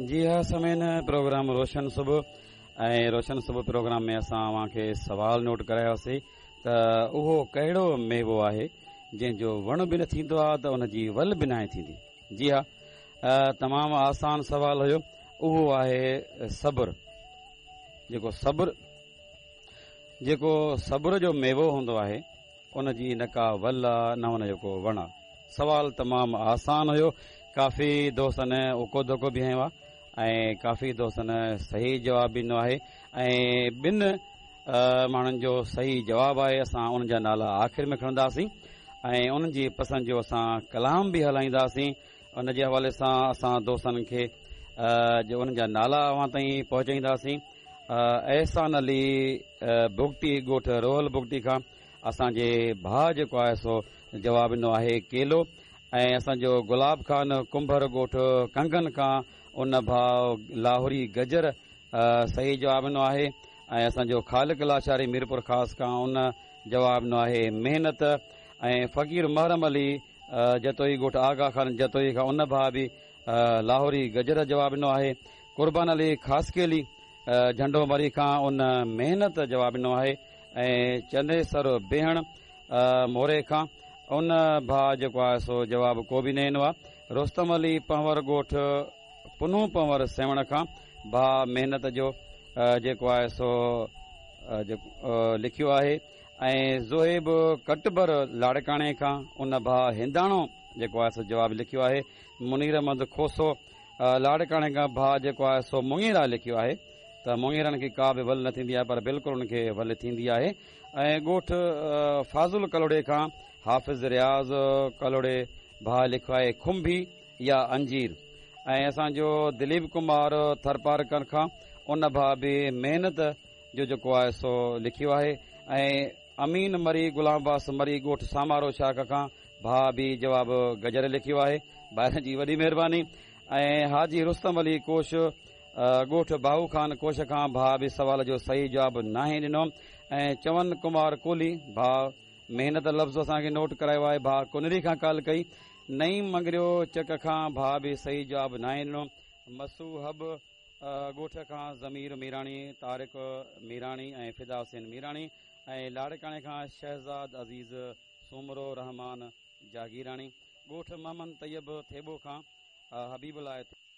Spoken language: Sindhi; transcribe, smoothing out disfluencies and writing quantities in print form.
جي ها سامعين پروگرام روشن صبح ۽ روشن صبح پروگرام ۾ اسان اوهان کي سوال نوٽ ڪرايوسي ته اهو ڪهڙو ميوو آهي جنهن جو وڻ به نه ٿيندو آهي ته ان جي ول به ناهي ٿيندي جي ها تمام آسان سوال هيو اهو آهي صبر جيڪو صبر جيڪو صبر جو ميوو هوندو آهي ان جي نه ڪا ول آ نه ان جو ڪو وڻ آ. سوال تمام آسان هيو. ڪافي دوستن اڪو ڌڪو به هنيو آ ۽ ڪافي دوستن صحيح جواب به ڏنو آهي ۽ ٻن ماڻهن جو صحيح جواب آهي اسان انهن جا نالا آخر ۾ کڻنداسين ۽ انهن جي پسند جو اسان ڪلام به هلائينداسين ان جي حوالي سان اسان دوستن کي جو انهن جا نالا اوهان تائين پهچائينداسين احسان علي بگٽي ڳوٺ روحل بگٽي کان اسان جي ڀاء جيڪو آهي سو جواب ڏنو آهي ڪيلو ۽ اسان جو گلاب خان ڪنڀر ڳوٺ ڪنگن کان ان ڀاء لاهوري گجر صحيح جواب ڏنو آهي ۽ اسان جو خالق لاشاري ميرپور خاص کان ان جواب ڏنو آهي محنت ۽ فقير محرم علي جتوئي ڳوٺ آغا خان جتوئي کان ان ڀاء به لاهوري گجر جواب ڏنو آهي قربان علي خاصخيلي جهنڊو مري کان ان محنت جواب ڏنو آهي ۽ چنيسر بيهڻ موري کان ان ڀاء جيڪو آهي سو جواب ڪو به نه ڏنو آهي. رستم علي پنهور ڳوٺ پنهون پنهور سيوهڻ کان ڀاء محنت جو جيڪو آهي سو لکيو آهي ۽ زوهيب ڪٽبر لاڙڪاڻي کان ان ڀاء هنداڻو جيڪو آهي سو جواب لکيو آهي. منير احمد کوسو لاڙڪاڻي کان ڀاء جيڪو آهي سو مڱيرا لکيو آهي ته مڱيرن کي ڪا به ول نه ٿيندي آهي پر بلڪل ان کي ول ٿيندي آهي ۽ ڳوٺ فاضل ڪلهوڙي کان حافظ رياض ڪلهوڙي ڀاء لکيو آهي کنڀي يا انجير ۽ اسان جو دليپ ڪمار ٿرپارڪر کان ان ڀاء به محنت جو جيڪو آهي سو لکيو آهي ۽ امين مري غلام عباس مري ڳوٺ سامارو شاخ کان ڀاء به جواب گجر لکيو آهي ڀائرن جي وڏي مهرباني ۽ حاجي رستم علي ڪوش ڳوٺ باهو خان ڪوش کان ڀاء به سوال جو صحيح جواب ناهي ڏنو ۽ چون ڪمار ڪولهي ڀاء محنت لفظ اسان کي نوٽ ڪرايو آهي ڀاء ڪنري کان ڪال ڪئي نعيم مڱريو چڪ کان ڀاء به صحيح جواب ناهي ڏنو مسو حب ڳوٺ کان ضمير ميراڻي، طارق ميراڻي ۽ فدا حسين ميراڻي ۽ لاڙڪاڻي کان شهزاد عزيز سومرو، رحمان جاگيراڻي، ڳوٺ محمد طيب ٿيٻو کان حبيب الله.